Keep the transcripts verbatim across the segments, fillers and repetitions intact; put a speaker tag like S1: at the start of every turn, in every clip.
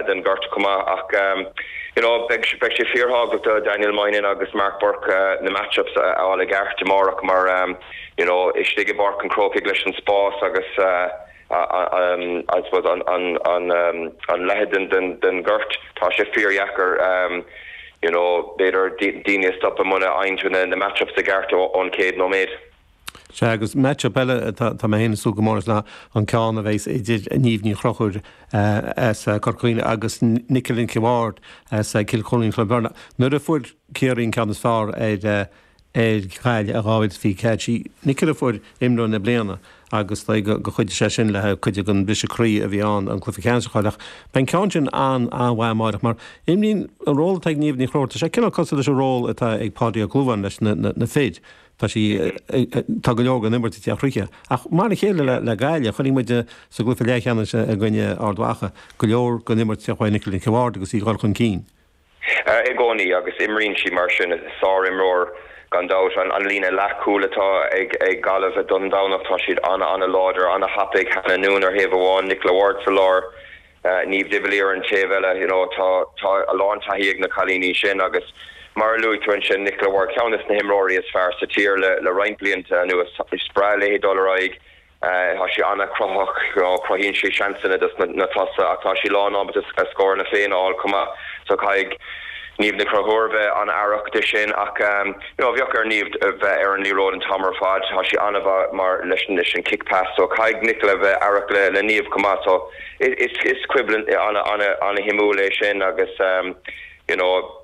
S1: den ghort chomh maith ach you know beidh beidh sé fíorthábhachtach do Daniel Moynihan agus Mark Burke uh, na matchups a fháil i gceart amárach mar um, you know istigh i bPáirc an Chrócaigh leis an spás agus uh, um, I suppose an an an um, an leithead den den den gort tá sé fíordheacair um, you know b'fhéidir daoine stop muna bhfaigheann na na matchups i gceart ón céad nóiméad.
S2: Sea agus matchup eile tá mé ag súil go mór leis an ceann a bheas idir Niamh Ní Chonchúir as Corca Dhuibhne agus Nicola Ward as Cill Chonla Cloiche Nuair a fuair Ciarraí an ceann is fearr ar ar Ghaillimh i dhá mhíle fiche sí Nicola fuair imreoir na bliana agus go chuidigh sé sin le cuid den bhriseadh croí a bhí ann an cluiche ceannais ach beidh an ceann sin an-mhaith mar imríonn an ról atá ag Niamh Ní Chonchúir sé cineál cosúil leis an ról atá ag Páidí Ó Clúmháin leis na, na, na fir. Tá sí tá go leor den imirt ag teacht chuici. Ach mar a chéile le, le Gaillimh chonaic muid sa gcluiche leathcheannais i gcoinne Ard Mhacha go leor den imirt ag teacht Nicola Ward agus í dul chun cinn.
S1: I gcónaí agus imríonn sí mar sin sárimreoir gan dabht an, an líne leathchúil atá ag ag Gaillimh don Domhnach tá siad an an-láidir an-thapaidh Hannah Noone ar thaobh amháin Nicola Ward sa lár. Uh, Niamh Divilly ar an taobh eile you know, tá tá a lán taithí ag na cailíní sin agus mar a luaigh tú ansin Nicola Ward ceann de na himreoirí is fearr sa tír le, le roinnt blianta anuas is breá léi dul ar aghaidh tá sí an-chruthaitheach cruthaíonn sí seansanna dos na, na tosaithe ach tá sí lán ábalta a scóranna féin a fháil chomh maith so caithfidh Niamh Ní Chonchúir bheith an-aireach de sin ach um, you know, bheadh ar Niamh bheith ar an liathróid an t-am ar fad tá sí an-mhaith mar leis leis an kick pass so caithfidh Nicola bheith aireach le le Niamh chomh maith so is is coimhlint an-an-an-shuimiúil é sin agus um, you know,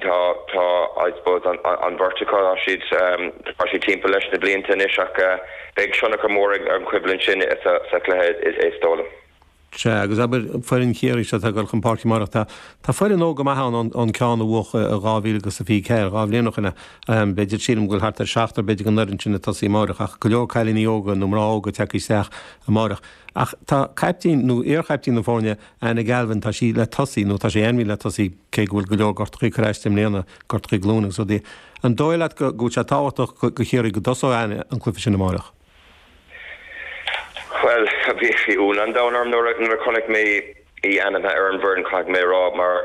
S1: tá tá I suppose an an bheirt acu tá siad um, tá siad timpeall leis na blianta anois ach uh, beidh tionchar mór ag an choimhlint sin sa sa chluiche is is dóigh liom.
S2: Sea agus abair foireann Chiarraí seo ag dul chun páirce amárach tá Tá foireann óg go maith an an ceann a bhuaigh dhá mhíle agus a fiche ceathair dhá bhliain ó shin b'fhéidir sílim go bhfuil thart ar seachtar b'fhéidir den fhoireann sin ag tosaí amárach ach go leor cailíní óga nó mná óga ag teacht isteach amárach. Ach tá caiptín nó iarchaiptín na foirne Anna Galvin tá sí le tosaí nó tá sí ainmnithe le tosaí cé go bhfuil go leor gortuithe curtha i mbliana gortuithe glúine so dí. An dóigh leat go go sé tábhachtach do Chiarraí go dtosódh Anna an cluiche sin amárach.
S1: Well bhí bhí ionadh an domhain orm nuair nuair a chonaic mé í ainmnithe ar an bhfoireann caithfidh mé rá mar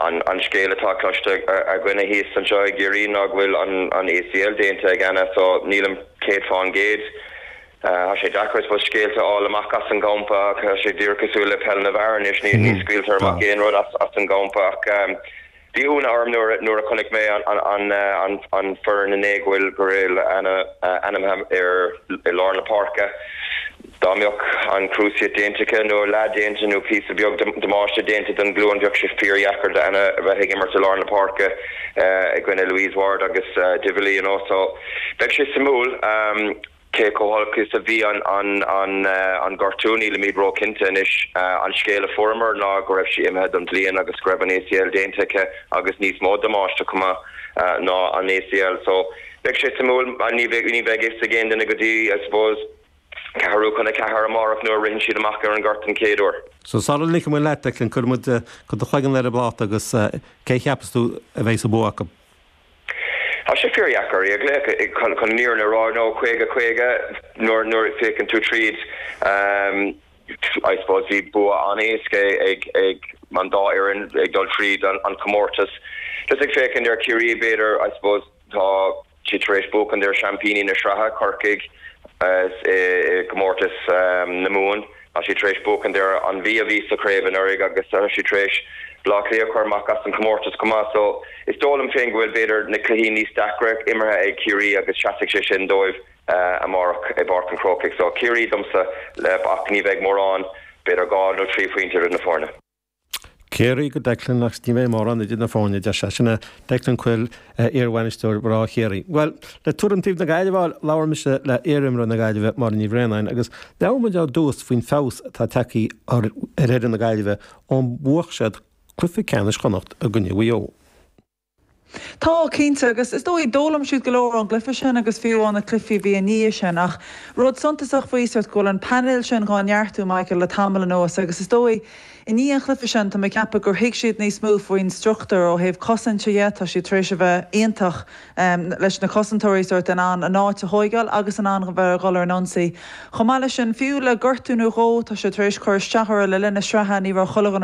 S1: an an scéal atá cloiste againne thíos anseo i gCiarraí ná go bhfuil an an ACL déanta ag Anna so nílim céad faoin gcéad. Tá sé deacair fós scéalta a fháil amach as an gcampa tá sé díreach cosúil le peil na bhfear anois ní ní scaoiltear amach aon rud as as an gcampa ach um, bhí ionadh orm nuair nuair a chonaic mé an an an an an foireann inné go bhfuil go bhfuil Anna ainmnithe ar i lár na páirce. Dá mbeadh an cruciate déanta nó leath déanta nó píosa beag damáiste déanta don ghlúin bheadh sé fíordheacair d'Anna bheith ag imirt i lár na páirce i gcoinne Louise Ward agus uh, Divilly you know, so beidh sé suimiúil um, cé chomh holc is a bhí an an an uh, an gortú nílimid róchinnte anois uh, an scéal a fuaireamar ná go raibh sí imithe don bhliain agus go raibh an ACL déanta aici agus níos mó damáiste chomh maith uh, ná an ACL so beidh sé suimiúil ní bheidh ní bheidh fhios ag aon duine go dtí I suppose ceathrú chun a ceathair amárach nuair a ritheann siad amach ar an ngort an chéad uair.
S2: So sara ligfidh mé leat Declan cuir muid go do chloigeann ar an bpláta agus cé cheapas tú a bheidh sa bua acu.
S1: Tá sé fíordheacair ag le chun chun níor na rá nó caoga caoga nuair nuair féachann tú tríd um, I suppose bhí bua an-éasca ag ag an dá fhoireann ag dul tríd an, an comórtas. Just ag féachaint ar Ciarraí b'fhéidir I suppose tá si tar éis buachan ar seaimpíní na sraithe Corcaigh i gcomórtas um, na Mumhan Tá sí tar éis buachan ar an Mhí a bhí sa chraobh anuraidh agus tá sí tar éis Bleá Cliath chur amach as an comórtas chomh maith so is dóigh liom féin go bhfuil b'fhéidir na cluichí níos deacra imeartha ag Ciarraí agus seasfaidh sé sin dóibh uh, amárach i bPáirc an Chrócaigh so Ciarraí domsa le ach ní bheidh mórán b'fhéidir dhá nó trí phointe idir na foirne.
S2: Ciarraí go Declan ach ní bheidh mórán idir na foirne de sinna Declan Quill iarbhainisteoir mná Chiarraí. Well le tuairim taobh na Gaillimhe labhair mise le iarimreoir na Gaillimhe Máire Ní Bhraonáin agus labhair muid ar dtús faoin feabhas atá tagtha ar ar fhoireann na Gaillimhe ó bhuaigh siad cluiche ceannais Chonnacht i gcoinne Mhaigh Eo.
S3: Tá cinnte agus is dóigh d'fhoghlaim siad go leor ón gcluiche sin agus fiú an na cluichí bhí ní sin ach rud suntasach faoi go bhfuil an painéal sin á neartú Michael le tamall anuas agus is dóigh i ndiaidh an chluiche sin tá mé ag ceapadh gur thuig siad níos mó faoin struchtúr ó thaobh cosaint dhe tá siad tar éis a bheith iontach um, leis na cosantóirí sort in ann an áit a thógáil agus in ann bheith dhul ar an ionsaí. Chomh maith leis sin fiú le gortú nó dhó tá sé tar éis cur isteach le linn na sraithe ní raibh chuile dhuine